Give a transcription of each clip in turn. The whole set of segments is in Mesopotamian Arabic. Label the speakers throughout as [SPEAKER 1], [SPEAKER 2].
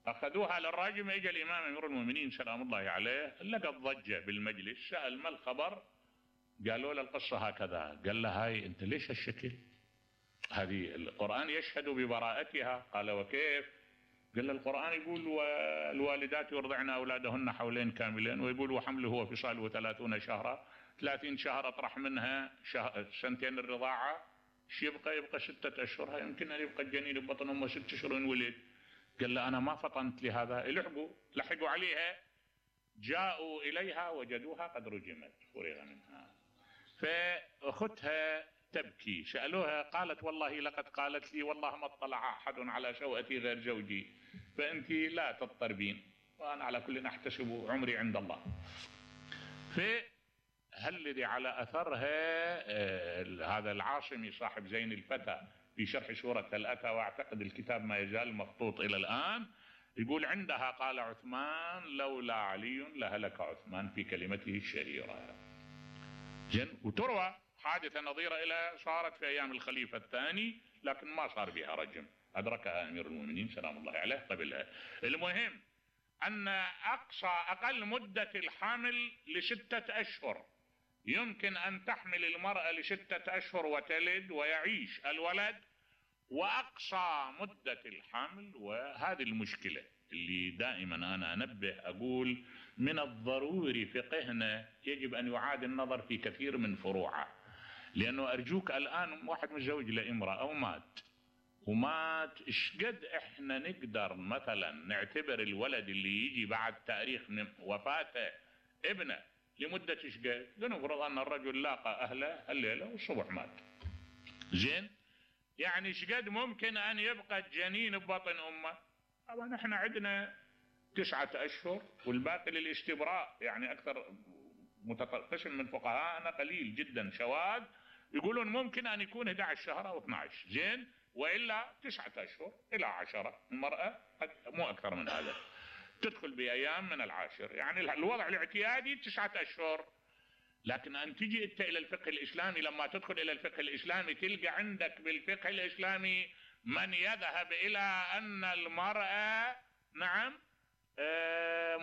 [SPEAKER 1] اخذوها للراجم. اجى الامام امير المؤمنين سلام الله عليه لقى ضجه بالمجلس، سال ما الخبر؟ قالوا له القصه هكذا. قال له هاي انت ليش هالشكل؟ هذه القران يشهد ببراءتها. قال وكيف؟ قال له القران يقول والوالدات يرضعن اولادهن حولين كاملين، ويقول وحمله وفصاله 30 شهرا. 30 شهر اطرح منها سنتين الرضاعه، ايش يبقى؟ يبقى 6 اشهر. يمكن ان يبقى الجنين ببطن امه 6 اشهر ولد. قال له انا ما فطنت لهذا. لحقوا عليها، جاءوا اليها وجدوها قد رجمت، فرغ منها. فاختها تبكي، سالوها قالت والله لقد قالت لي والله ما اطلع احد على شوأتي غير زوجي، فانت لا تضطربين، وانا على كل احتسب عمري عند الله. فهالذي على اثرها هذا العاصمي صاحب زين الفتى في شرح سورة الأتى، واعتقد الكتاب ما يزال مخطوط الى الان، يقول عندها قال عثمان لولا علي لهلك عثمان في كلمته الشهيرة. وتروى حادثة نظيرة إلى صارت في أيام الخليفة الثاني، لكن ما صار بها رجم، أدركها أمير المؤمنين سلام الله عليه قبلها. المهم أن أقل مدة الحمل ل6 أشهر، يمكن أن تحمل المرأة ل6 أشهر وتلد ويعيش الولد، وأقصى مدة الحمل. وهذه المشكلة اللي دائما أنا أنبه أقول من الضروري فقهنا يجب أن يعاد النظر في كثير من فروعه. لأنه أرجوك الآن واحد متزوج لامرأة أو ومات، إيش قد إحنا نقدر مثلا نعتبر الولد اللي يجي بعد تاريخ من وفاته ابنه لمدة إيش قد؟ لنفرض أن الرجل لاقى أهله الليلة والصبح مات، زين؟ يعني إيش قد ممكن أن يبقى الجنين ببطن أمه؟ طبعا إحنا عندنا 9 أشهر والباقي للاستبراء. يعني أكثر قسم من فقهاءنا قليل جدا شواذ يقولون ممكن أن يكون 11 شهر أو 12، زين؟ وإلا 9 أشهر إلى 10 المرأة، مو أكثر من هذا، تدخل بأيام من العاشر. يعني الوضع الاعتيادي 9 أشهر. لكن أن تجي أنت إلى الفقه الإسلامي، لما تدخل إلى الفقه الإسلامي تلقى عندك بالفقه الإسلامي من يذهب إلى أن المرأة نعم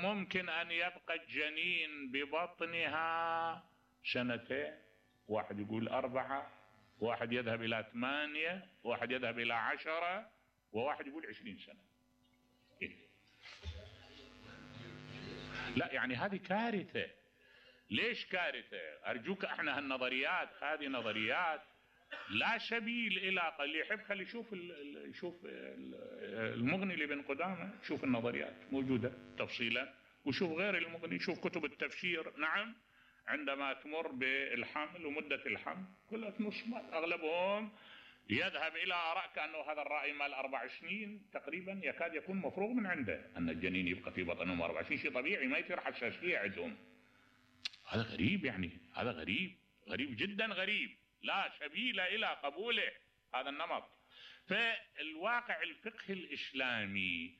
[SPEAKER 1] ممكن أن يبقى الجنين ببطنها 2 سنين، واحد يقول 4، واحد يذهب إلى 8، واحد يذهب إلى 10، وواحد يقول 20 سنة. إيه؟ لا يعني هذه كارثة. ليش كارثة؟ أرجوك احنا هالنظريات هذه نظريات لا سبيل إلى اللي يحب خلي يشوف المغني لابن قدامة، شوف النظريات موجودة تفصيلا، وشوف غير المغني، شوف كتب التفسير. نعم، عندما تمر بالحمل ومدة الحمل كلها نص أغلبهم يذهب إلى آراء كأنه هذا الرأي مال 4 سنين تقريبا يكاد يكون مفروغ من عنده، أن الجنين يبقى في بطنهم 4 سنين، شيء طبيعي ما يصير حساسية عندهم. هذا غريب، يعني هذا غريب جدا غريب، لا سبيل إلى قبوله هذا النمط. فالواقع الفقه الإسلامي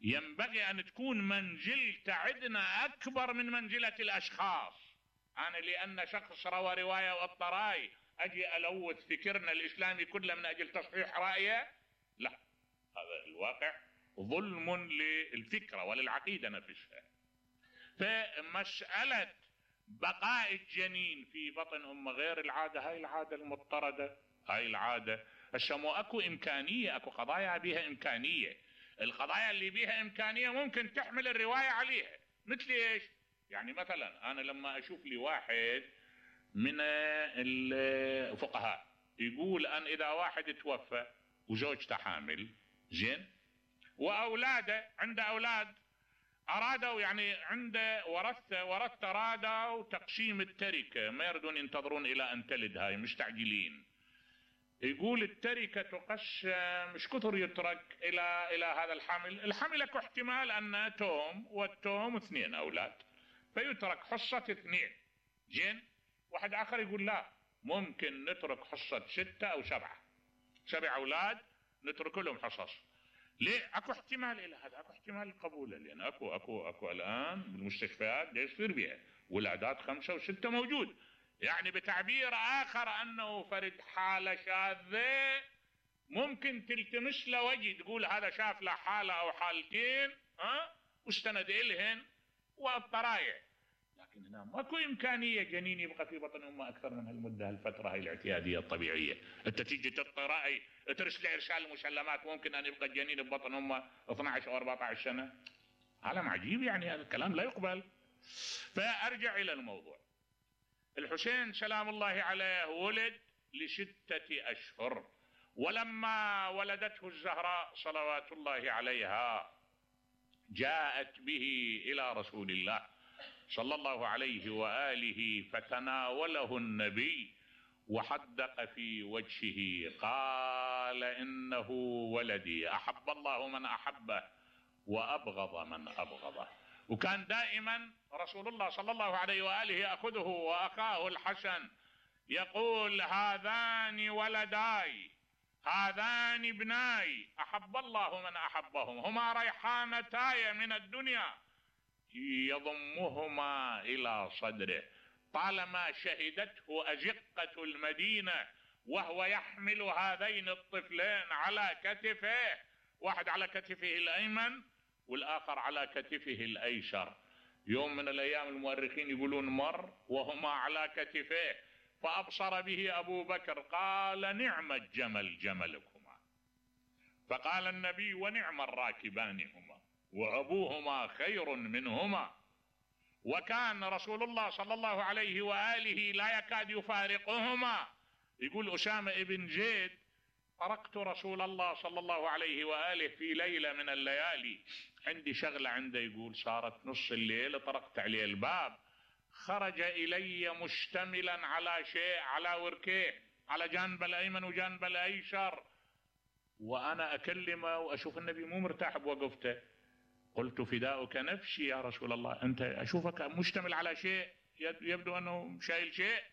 [SPEAKER 1] ينبغي أن تكون منزلته عندنا أكبر من منزلة الأشخاص. أنا لأن شخص روى رواية والطراي أجي ألوث فكرنا الإسلامي كله من أجل تصحيح رأيه؟ لا، هذا الواقع ظلم للفكرة وللعقيدة نفسها. فمسألة بقاء الجنين في بطن أمه غير العادة، هاي العادة المضطردة، هاي العادة السمو أكو إمكانية، أكو قضايا بها إمكانية. القضايا اللي بها إمكانية ممكن تحمل الرواية عليها. مثل إيش؟ يعني مثلا أنا لما أشوف لي واحد من الفقهاء يقول أن إذا واحد توفى وزوجته حامل، زين، وأولاده عنده أولاد أرادوا يعني عنده ورثة أرادوا تقسيم التركة، ما يردون ينتظرون إلى أن تلد، هاي مستعجلين. يقول التركة تقسم، مش كثر يترك إلى هذا الحمل اكو احتمال أن والتوم 2 أولاد، فيترك حصة 2، زين. واحد آخر يقول لا، ممكن نترك حصة 6 أو 7 أولاد نترك لهم حصص. ليه؟ اكو احتمال الى هذا، اكو احتمال قبوله، لان اكو الان بالمستشفيات يصير بها ولادات 5 و6 موجود. يعني بتعبير اخر انه فرد حالة شاذة ممكن تلتمس له وجه تقول هذا شاف له حالة او حالتين واستند الهن والطرايع، لكن هنا ماكو امكانية جنين يبقى في بطن امه اكثر من هالمدة، هالفترة هاي الاعتيادية الطبيعية. انت تيجي تعطي رأي ترسل ارسال مسلمات ممكن ان يبقى الجنين ببطن امه 12 او 14 سنة، عالم عجيب يعني، هذا الكلام لا يقبل. فارجع الى الموضوع. الحسين سلام الله عليه ولد ل6 اشهر، ولما ولدته الزهراء صلوات الله عليها جاءت به الى رسول الله صلى الله عليه واله، فتناوله النبي وحدق في وجهه قال انه ولدي احب الله من احبه وابغض من ابغضه. وكان دائما رسول الله صلى الله عليه واله ياخذه واخاه الحسن يقول هذان ولداي هذان ابناي احب الله من احبهم، هما ريحانتاي من الدنيا، يضمهما الى صدره. طالما شهدته ازقة المدينة وهو يحمل هذين الطفلين على كتفه، واحد على كتفه الايمن والاخر على كتفه الايسر. يوم من الايام المؤرخين يقولون مر وهما على كتفيه فابصر به ابو بكر قال نعم الجمل جملكما، فقال النبي ونعم الراكبان هما وابوهما خير منهما. وكان رسول الله صلى الله عليه واله لا يكاد يفارقهما. يقول اسامة ابن زيد طرقت رسول الله صلى الله عليه واله في ليلة من الليالي، عندي شغلة عنده، يقول صارت نص الليل طرقت عليه الباب، خرج الي مشتملا على شيء على وركيه على جانب الايمن وجانب الايسر، وانا اكلمه واشوف النبي مو مرتاح بوقفته. قلت فداؤك نفسي يا رسول الله، انت اشوفك مشتمل على شيء يبدو انه شايل شيء.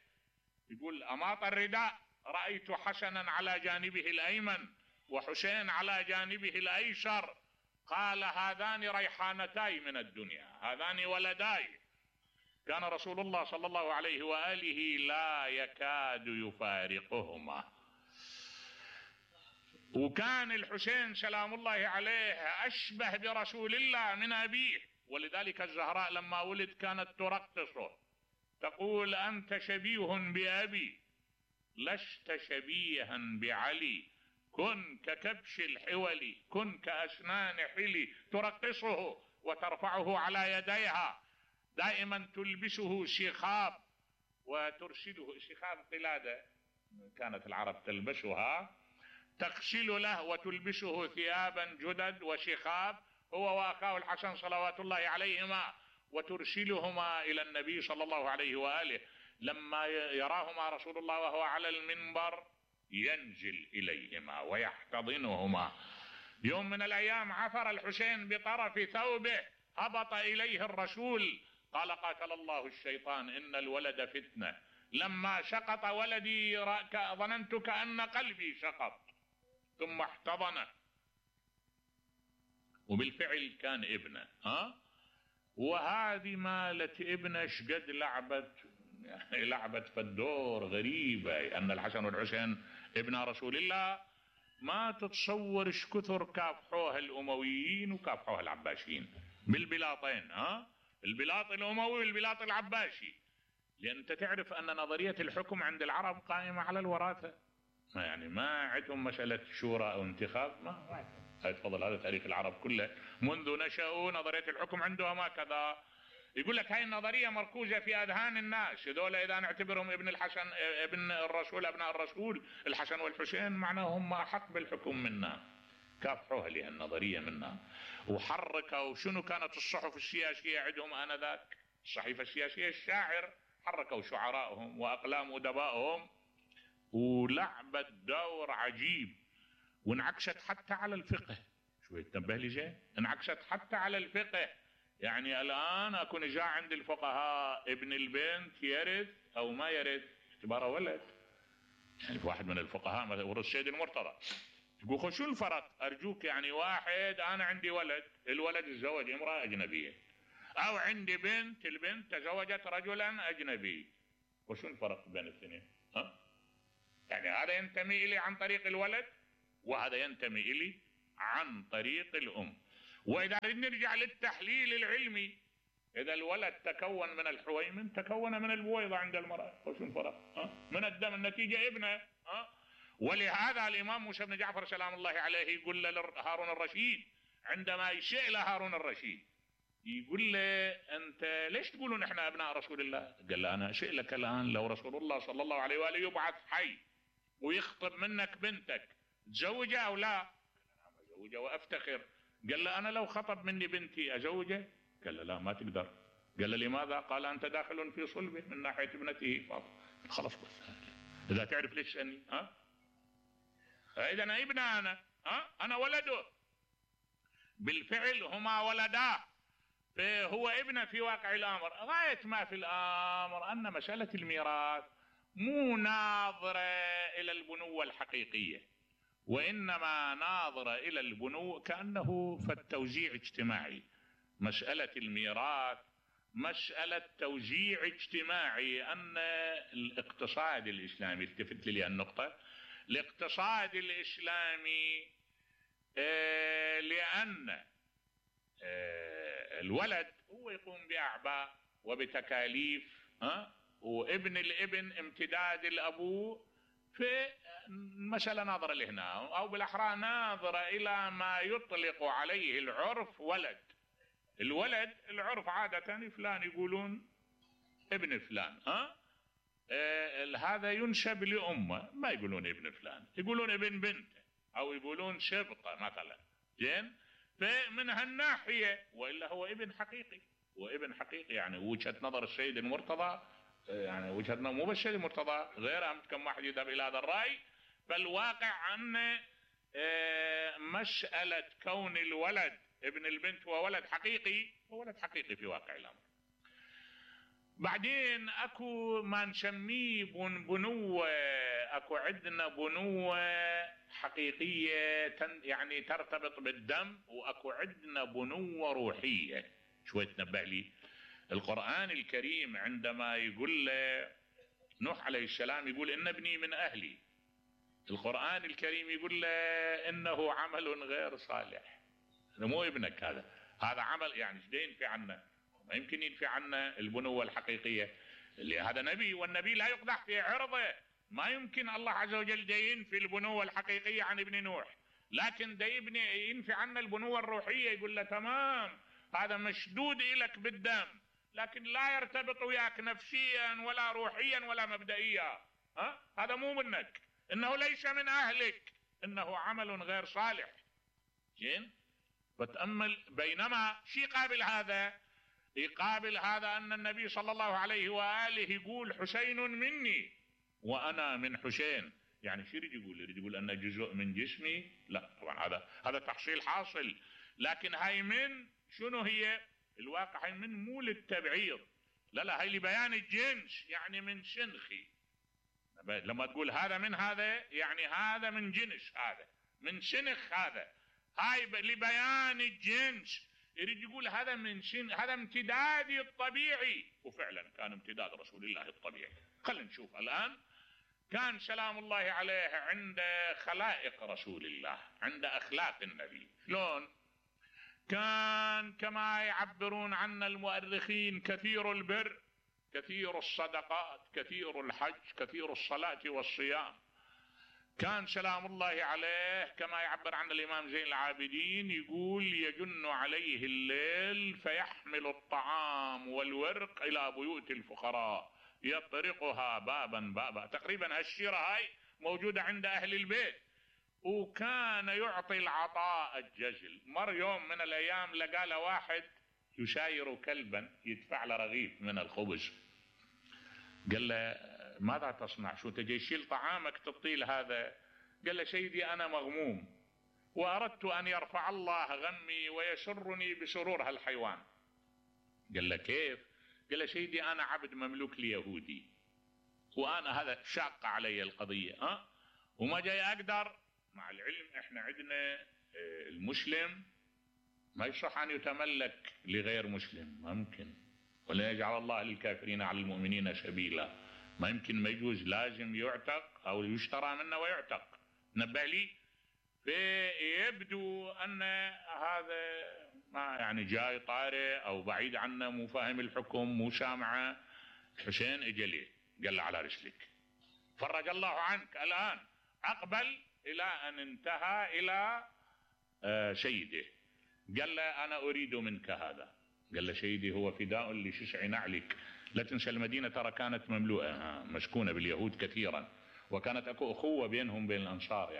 [SPEAKER 1] يقول اماط الرداء رايت حسنا على جانبه الايمن وحسين على جانبه الايسر، قال هذان ريحانتاي من الدنيا هذان ولداي. كان رسول الله صلى الله عليه واله لا يكاد يفارقهما. وكان الحسين سلام الله عليه اشبه برسول الله من ابيه، ولذلك الزهراء لما ولد كانت ترقصه تقول انت شبيه بابي لست شبيها بعلي، كن ككبش الحول كن كاسنان حلي. ترقصه وترفعه على يديها، دائما تلبسه شخاب وترشده، شخاب قلادة كانت العرب تلبسها، تغسل له وتلبسه ثيابا جدد وشخاب هو واخاه الحسن صلوات الله عليهما، وترسلهما الى النبي صلى الله عليه واله. لما يراهما رسول الله وهو على المنبر ينزل اليهما ويحتضنهما. يوم من الايام عثر الحسين بطرف ثوبه، هبط اليه الرسول قال قاتل الله الشيطان ان الولد فتنة، لما سقط ولدي ظننت كأن قلبي سقط، ثم احتضنه، وبالفعل كان ابنه. وهذه مالت ابنه شقد لعبت في الدور غريبة، ان الحسن والحسين ابن رسول الله ما تتصور ايش كثر كافحوها الامويين وكافحوها العباسيين بالبلاطين، البلاط الاموي والبلاط العباسي. لان انت تعرف ان نظرية الحكم عند العرب قائمة على الوراثة، يعني ما عندهم مسألة شورى او انتخاب، ما تفضل. هذا تاريخ العرب كله منذ نشأوا نظرية الحكم عندهم هكذا. يقول لك هاي النظرية مركوزة في اذهان الناس، هذول اذا نعتبرهم ابن الحسن ابن الرسول ابناء الرسول الحسن والحسين معناهم احق بالحكم منا. كافحوها لها النظرية منا وحركوا. شنو كانت الصحف السياسية عندهم آنذاك؟ الصحيفة السياسية الشاعر، حركوا شعراءهم واقلام ادبائهم ولعبت دور عجيب، وانعكست حتى على الفقه. شوي تنبه لي زين، انعكست حتى على الفقه. يعني الان اكون جاء عند الفقهاء ابن البنت يرث او ما يرث اعتباره ولد. يعني واحد من الفقهاء مثلا ورث السيد المرتضى يقول شو الفرق؟ ارجوك يعني واحد انا عندي ولد، الولد تزوج امرأة اجنبية، او عندي بنت البنت تزوجت رجلا اجنبي، وشو الفرق بين الاثنين؟ يعني هذا ينتمي الي عن طريق الولد وهذا ينتمي إلي عن طريق الأم. وإذا نرجع للتحليل العلمي، إذا الولد تكون من الحويمن تكون من البويضة عند المرأة، وش الفرق؟ من الدم، النتيجة ابنه. ولهذا الإمام موسى بن جعفر سلام الله عليه يقول لهارون الرشيد عندما يشيء لهارون الرشيد، يقول له أنت ليش تقولون إحنا أبناء رسول الله؟ قال له أنا أشيء لك الآن لو رسول الله صلى الله عليه وآله يبعث حي ويخطب منك بنتك تزوجه أو لا؟ قال أنا أزوجه وأفتخر. قال له أنا لو خطب مني بنتي أزوجه؟ قال له لا ما تقدر. قال له لماذا؟ قال أنت داخل في صلبه من ناحية ابنته فاطمة. خلاص بس إذا تعرف ليش تسألني. إذا أنا ابنه، أنا ولده بالفعل، هما ولداه، فهو ابنه في واقع الأمر. غاية ما في الأمر أن مسألة الميراث مو ناظرة إلى البنوة الحقيقية، وإنما ناظرة إلى البنوة كأنه فالتوزيع اجتماعي. مسألة الميراث مسألة توزيع اجتماعي. أن الاقتصاد الإسلامي، التفت لي النقطة، الاقتصاد الإسلامي لأن الولد هو يقوم بأعباء وبتكاليف، وابن الابن امتداد الأبو، في المسألة ناظرة لهنا، أو بالأحرى ناظرة إلى ما يطلق عليه العرف ولد. الولد العرف عادة فلان يقولون ابن فلان، هذا ينسب لأمه، ما يقولون ابن فلان، يقولون ابن بنته أو يقولون شبطة مثلا. زين، فمن هالناحية وإلا هو ابن حقيقي، وابن حقيقي يعني وجهة نظر السيد المرتضى، يعني وجهة نظر مو بس السيد المرتضى، غيره كم واحد يذهب إلى هذا الرأي. فالواقع أن مسألة كون الولد ابن البنت هو ولد حقيقي، هو ولد حقيقي في واقع الأمر. بعدين اكو ما نسميه بنوة، اكو عندنا بنوة حقيقية يعني ترتبط بالدم، واكو عندنا بنوة روحية. شوي تنبه لي القرآن الكريم عندما يقول نوح عليه السلام يقول إن ابني من أهلي، القرآن الكريم يقول له إنه عمل غير صالح. مو ابنك هذا عمل، يعني ايش ينفي عنه؟ ما يمكن ينفي عنه البنوة الحقيقية، اللي هذا نبي، والنبي لا يقدح في عرضه. ما يمكن الله عز وجل ينفي البنوة الحقيقية عن ابن نوح، لكن ينفي عنه البنوة الروحية. يقول له تمام هذا مشدود إلك بالدم، لكن لا يرتبط وياك نفسيا ولا روحيا ولا مبدئيا. هذا مو منك، إنه ليس من أهلك، إنه عمل غير صالح. زين، فتأمل. بينما شي قابل هذا، يقابل هذا أن النبي صلى الله عليه وآله يقول حسين مني وأنا من حسين. يعني شو يريد يقول؟ يريد يقول أن جزء من جسمي؟ لا طبعا هذا تحصيل حاصل، لكن هاي من شنو هي الواقع؟ هاي من مو للتبعيض، لا هاي لبيان الجنس، يعني من شنخي. لما تقول هذا من هذا يعني هذا من جنس، هذا من شنخ، هاي لبيان الجنس. يريد يقول هذا من هذا امتدادي الطبيعي، وفعلا كان امتداد رسول الله الطبيعي. خلينا نشوف الآن. كان سلام الله عليه عند خلائق رسول الله، عند أخلاق النبي، شلون كان؟ كما يعبرون عنا المؤرخين كثير البر، كثير الصدقات، كثير الحج، كثير الصلاة والصيام. كان سلام الله عليه كما يعبر عن الإمام زين العابدين، يقول يجن عليه الليل فيحمل الطعام والورق إلى بيوت الفقراء يطرقها بابا بابا. تقريبا هالشيرة هاي موجودة عند أهل البيت. وكان يعطي العطاء الجزل. مر يوم من الأيام لقى له واحد يساير كلبا يدفع له رغيف من الخبز. قال له ماذا تصنع؟ شو تجي تشيل طعامك تعطيه هذا؟ قال له سيدي أنا مغموم وأردت أن يرفع الله غمي ويسرني بسرور هالحيوان. قال له كيف؟ قال له سيدي أنا عبد مملوك ليهودي، وأنا هذا شاق علي القضية، وما جاي أقدر. مع العلم إحنا عندنا المسلم ما يصح أن يتملك لغير مسلم، ما يمكن. ولا يجعل الله للكافرين على المؤمنين سبيلا، ما يمكن، ما يجوز، لازم يعتق أو يشترى منه ويعتق. نبه لي. فيبدو ان هذا ما يعني جاي طارئ او بعيد عنه، مو فاهم الحكم، مو سامعه. الحسين اجى ليه قال له على رسلك، فرج الله عنك. الان اقبل الى ان انتهى الى سيده، قال له انا اريد منك هذا. قال له سيدي هو فداء لشسع نعلك. لا تنسى المدينه ترى كانت مملوءه مسكونه باليهود كثيرا، وكانت اكو اخوه بينهم بين الانصار.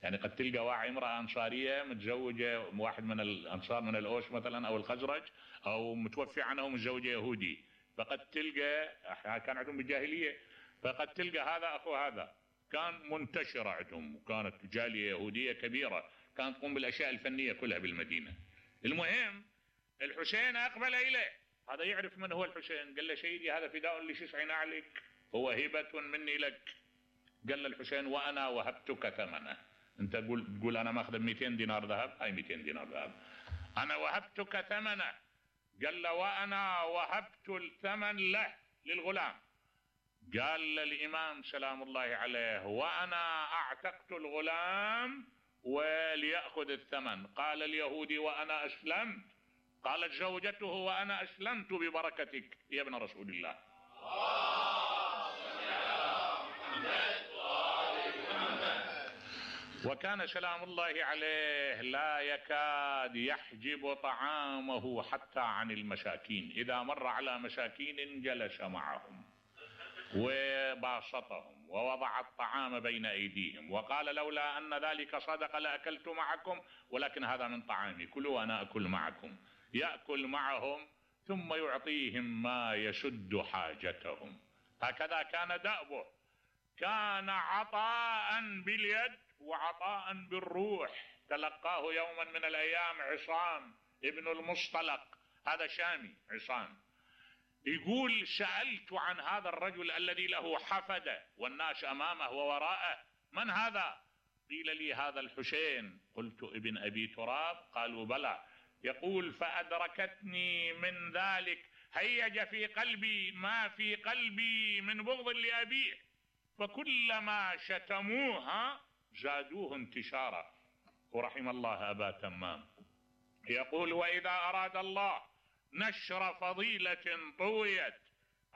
[SPEAKER 1] يعني قد تلقى واحد امراه انصاريه متزوجه واحد من الانصار من الاوس مثلا او الخزرج، او متوفي عنها ومتزوجه يهودي، فقد تلقى كان عندهم بالجاهليه، فقد تلقى هذا اخو هذا. كان منتشره عندهم، وكانت جاليه يهوديه كبيره كانت تقوم بالاشياء الفنيه كلها بالمدينه. المهم الحسين اقبل اليه، هذا يعرف من هو الحسين. قال له سيدي هذا فداء لشسع نعلك، هو هبه مني لك. قال له الحسين وانا وهبتك ثمنه. انت تقول انا ماخذ 200 دينار ذهب، هاي 200 دينار ذهب، انا وهبتك ثمنه. قال له وانا وهبت الثمن له للغلام. قال الامام سلام الله عليه وانا اعتقت الغلام وليأخذ الثمن. قال اليهودي وانا اسلمت. قالت زوجته وانا اسلمت ببركتك يا ابن رسول الله. وكان سلام الله عليه لا يكاد يحجب طعامه حتى عن المساكين، إذا مر على مساكين جلس معهم وباسطهم ووضع الطعام بين أيديهم، وقال لولا أن ذلك صدق لأكلت معكم، ولكن هذا من طعامي كلوا وأنا أكل معكم. يأكل معهم ثم يعطيهم ما يسد حاجتهم. هكذا كان دأبه، كان عطاء باليد وعطاء بالروح. تلقاه يوما من الأيام عصام ابن المصطلق، هذا شامي عصام، يقول سألت عن هذا الرجل الذي له حفدة والناس أمامه ووراءه، من هذا؟ قيل لي هذا الحسين. قلت ابن أبي تراب؟ قالوا بلى. يقول فأدركتني من ذلك هيج في قلبي ما في قلبي من بغض لأبيه، فكلما شتموها زادوه انتشارا. ورحم الله أبا تمام. يقول وإذا أراد الله نشر فضيلة طويت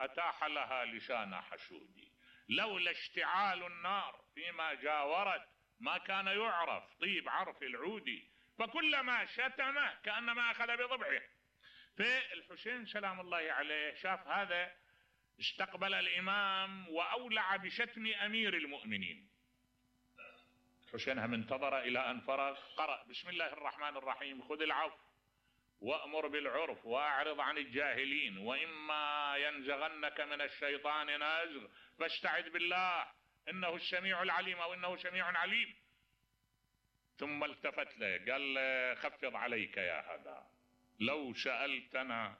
[SPEAKER 1] أتاح لها لسان حشود، لولا اشتعال النار فيما جاورت ما كان يعرف طيب عرف العود، فكلما شتمه كأنما أخذ بضبعه. فالحسين سلام الله عليه شاف هذا، استقبل الإمام وأولع بشتم أمير المؤمنين. الحسين هم انتظر إلى أن فرغ، قرأ بسم الله الرحمن الرحيم خذ العفو وأمر بالعرف وأعرض عن الجاهلين، وإما ينزغنك من الشيطان نزغ فاستعذ بالله إنه السميع العليم، أو إنه سميع عليم. ثم التفت له قال خفض عليك يا هذا، لو سألتنا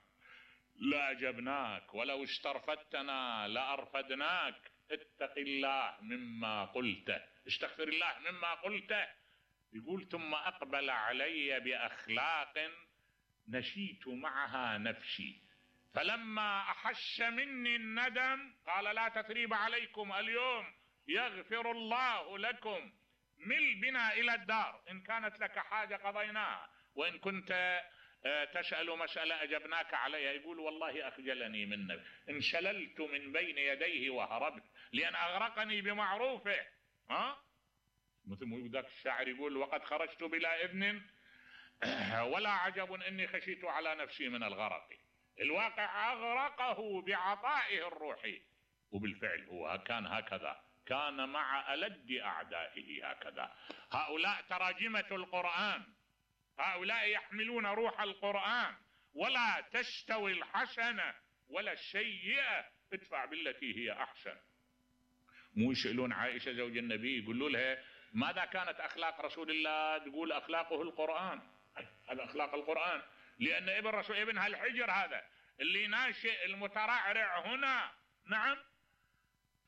[SPEAKER 1] لأجبناك ولو استرفدتنا لأرفدناك، اتق الله مما قلته، استغفر الله مما قلته. يقول ثم أقبل علي بأخلاق نشيت معها نفسي، فلما أحس مني الندم قال لا تثريب عليكم اليوم يغفر الله لكم، مل بنا إلى الدار، إن كانت لك حاجة قضيناها، وإن كنت تسأل مسألة أجبناك عليها. يقول والله أخجلني منك، انشللت من بين يديه وهربت لأن أغرقني بمعروفه. مثل ذاك الشاعر يقول وقد خرجت بلا إذن ولا عجب إني خشيت على نفسي من الغرق. الواقع أغرقه بعطائه الروحي، وبالفعل هو كان هكذا، كان مع ألد أعدائه هكذا. هؤلاء تراجمة القرآن، هؤلاء يحملون روح القرآن، ولا تستوي الحسنة ولا السيئة، ادفع بالتي هي أحسن. مو يسألون عائشة زوج النبي يقولوا لها ماذا كانت أخلاق رسول الله؟ تقول أخلاقه القرآن، هذا أخلاق القرآن، لأن ابن رسول ابن هالحجر هذا اللي ناشئ المترعرع هنا. نعم.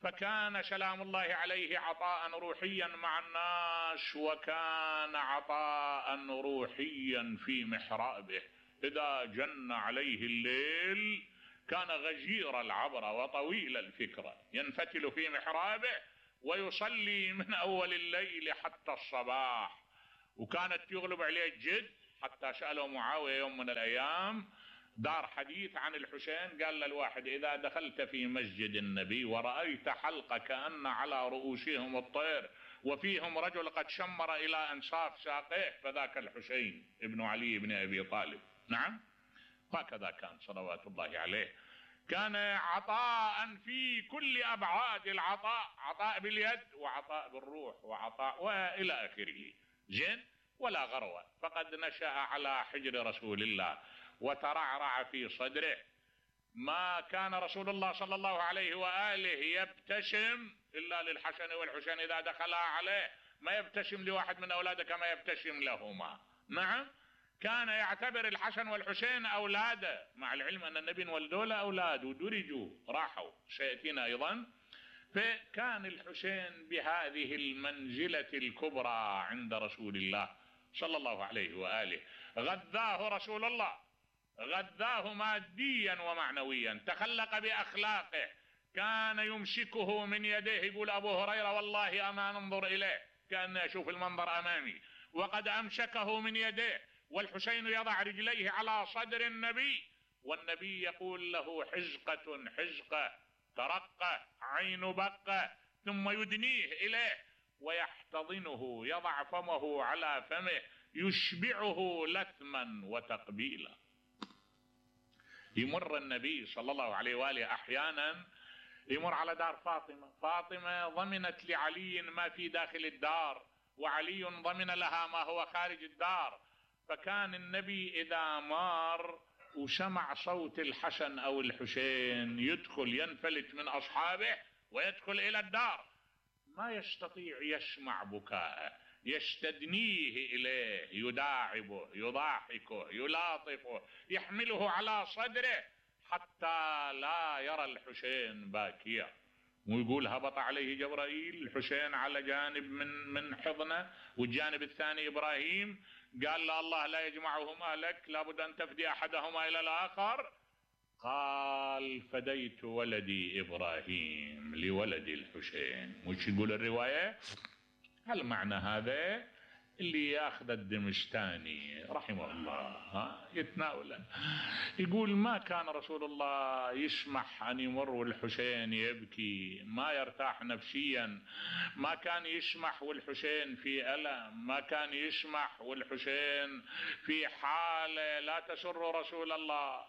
[SPEAKER 1] فكان سلام الله عليه عطاء روحيا مع الناس، وكان عطاء روحيا في محرابه. إذا جن عليه الليل كان غزير العبرة وطويل الفكرة، ينفتل في محرابه ويصلي من أول الليل حتى الصباح، وكانت يغلب عليه الجد، حتى سأله معاوية يوم من الأيام دار حديث عن الحسين، قال للواحد: إذا دخلت في مسجد النبي ورأيت حلقة كأن على رؤوسهم الطير وفيهم رجل قد شمر إلى أنصاف ساقيه فذاك الحسين ابن علي بن أبي طالب. نعم، هكذا كان صلوات الله عليه. كان عطاء في كل أبعاد العطاء، عطاء باليد وعطاء بالروح وعطاء وإلى آخره. زين، ولا غروة، فقد نشأ على حجر رسول الله وترعرع في صدره. ما كان رسول الله صلى الله عليه وآله يبتسم إلا للحسن والحسين إذا دخلا عليه، ما يبتسم لواحد من أولاده كما يبتسم لهما. نعم، كان يعتبر الحسن والحسين أولاده، مع العلم أن النبي ولدوا له أولاد ودرجوا راحوا، سيأتينا أيضا. فكان الحسين بهذه المنزلة الكبرى عند رسول الله صلى الله عليه وآله. غذاه رسول الله، غذاه ماديا ومعنويا، تخلق بأخلاقه، كان يمسكه من يديه. يقول أبو هريرة: والله أما ننظر إليه كأني أشوف المنظر أمامي، وقد أمسكه من يديه. والحسين يضع رجليه على صدر النبي، والنبي يقول له: حزقة حزقة، ترقة، عين بقة، ثم يدنيه إليه ويحتضنه، يضع فمه على فمه، يشبعه لثما وتقبيلا. يمر النبي صلى الله عليه وآله أحيانا يمر على دار فاطمة. فاطمة ضمنت لعلي ما في داخل الدار، وعلي ضمن لها ما هو خارج الدار. فكان النبي إذا مار وسمع صوت الحسن أو الحسين يدخل، ينفلت من أصحابه ويدخل إلى الدار، ما يستطيع يسمع بكاءه، يستدنيه إليه، يداعبه، يضاحكه، يلاطفه، يحمله على صدره حتى لا يرى الحسين باكيا. ويقول: هبط عليه جبرائيل، الحسين على جانب من حضنه والجانب الثاني إبراهيم، قال له: الله لا يجمعهما لك، لابد أن تفدي أحدهما إلى الآخر. قال: فديت ولدي إبراهيم لولد الحسين. وش يقول الرواية؟ هل معنى هذا اللي ياخذ الدمشتاني رحمه الله يتناوله، يقول: ما كان رسول الله يسمح أن يمر والحسين يبكي، ما يرتاح نفسيا، ما كان يسمح والحسين في ألم، ما كان يسمح والحسين في حالة لا تسر رسول الله.